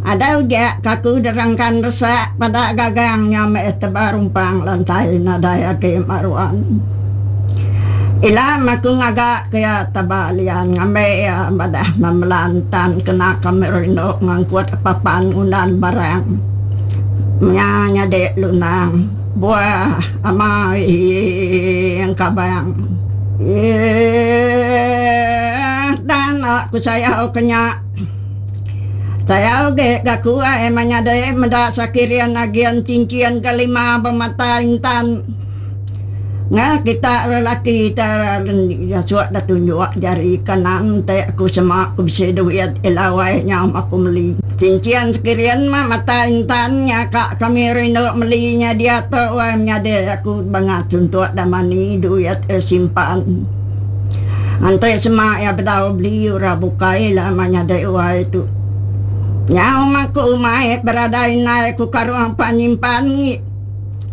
Ada uja ka aku derangkan resak peda gagang nya meh teba rumpang lantai nadai agi meruan. Ila meh aku ngaga ke iya teba lian ngambi iya madah memelan tan kena kami rindu ngangkut papan ngundan barang nya nyadi lunang buah amai engkabang. Eeh tang aku sayau ke nya. Sayau ge ga ku ai menyadi meda sakirin agin tinchin ke lima bemata intan. Nga kita lelaki te suak da tunjuk jari kanan te aku sema ku bisi duit ila wai nyau aku meli. Tinchin sekirin mah mata intan nya ka kami rindu meli nya diatu wai menyadi aku bangat suntuk da mani duit simpan. Enti sema iya bedau beli orang bukai la menyadi wai tu. Nyau mangku umai beradai indai ku karung pan nyimpan ngi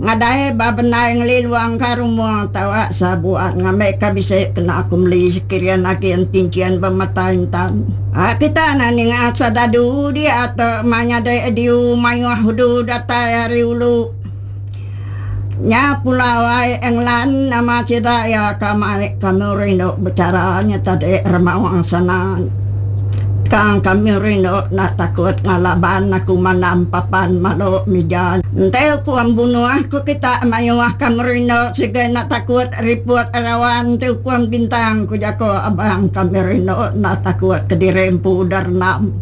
ngadai ba bendai ngelilung ka rumung tawa sabuan ngambika bisi kena aku meli sekirin agi entinchin bemata intan. Kita enda ninga sedadu diatu menyadi diu mayuh udu datai ari ulu. Nya pulau ai England nama sida iya ka mai kami rindu bechara nya tadi Remaung Sana. Tang kami rindu enda takut ngalaban aku mandam papan malu mija. Enti ukum bunuh ku kita mayuh kami rindu sigi enda takut riput rawan enti ukum bintang ku jaku abang kami rindu enda takut kediri empu udah rendam.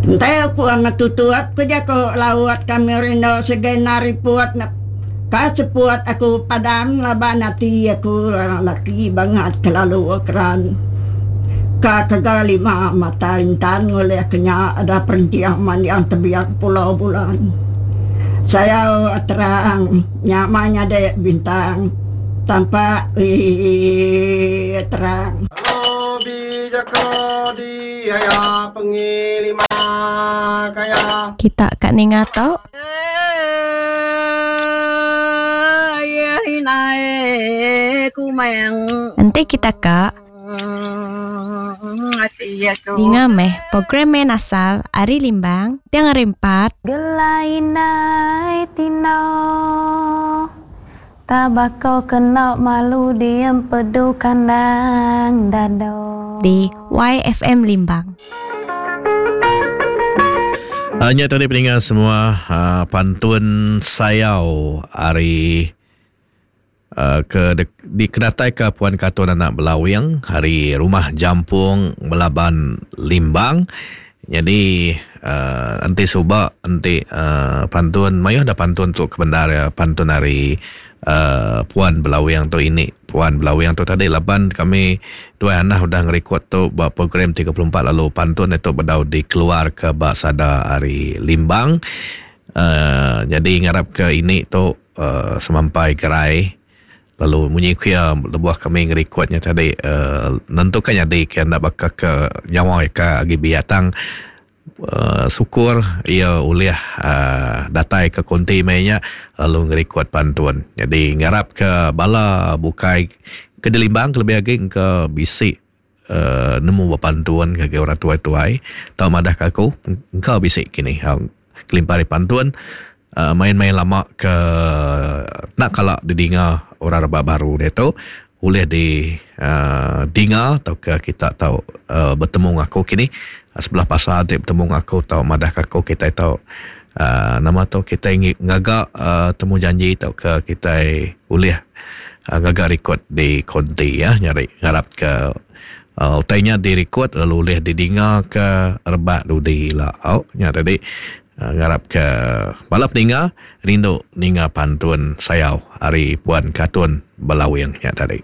Enti ukum ngetutup ku jaku laut kami rindu sigi enda riput ka seput aku padam laban ati aku laki bangat kelalu keran ka kega lima mata intan ngulih ke nya ada perenting manding tebiak pulau bulan sayau terang nya mah nyadi bintang tampak ii terang. Kita ka ninga tu. Enti kita ka ninga meh program main asal ari Limbang tiang hari empat. Gelai indai tino Tabako kena malu diempedu kandang dado. Di YFM Limbang. Nya tadi peninga semua pantun sayau ari ke dikenataika Puan Katun Anak Belawing ari Rumah Jampong Belaban Limbang. Nyadi enti suba enti pantun mayuh da pantun tu kebendar iya pantun ari Puan Belawing tu ini. Puan Belawing tu tadi laban kami duai anah udah ngerikod tu ba program 34 lalu pantun itu bedau dikeluarka ba sada ari Limbang. Nyadi ngarapka ini tu semampai gerai lalu munyi ku iya lebuh kami ngerikod nya tadi uhh nentuka nyadi ke enda baka ke nyawa iya ke agi biak tang uhh syukur iya ulih uhh datai ke konti meh nya lalu ngerikod pantun. Jadi ngarap ke bala bukai ke dilimbang kelebih agi engka bisi uhh nemu bepantun ngagai orang tuai-tuai tau madah ka aku engka bisi kini. Kelimpah ari pantun uhh main-main lama ke enda kala didinga orang rebak baru diatu ulih di uhh dinga tauka kita tau uhh betemu enggau aku kini sebelah pasar ti betemu enggau aku tau madah ka aku kitai tau uhh nama tu kitai ngaga uhh temu janji tauka kitai ulih ngaga rekod di konti ya nyadi ngarap ke Utai nya dirikod lalu ulih didingaka rebak dudi ila. Au nya tadi ngarapka bala peninga rindu ninga pantun sayau ari Puan Katun Belawing nya tadi.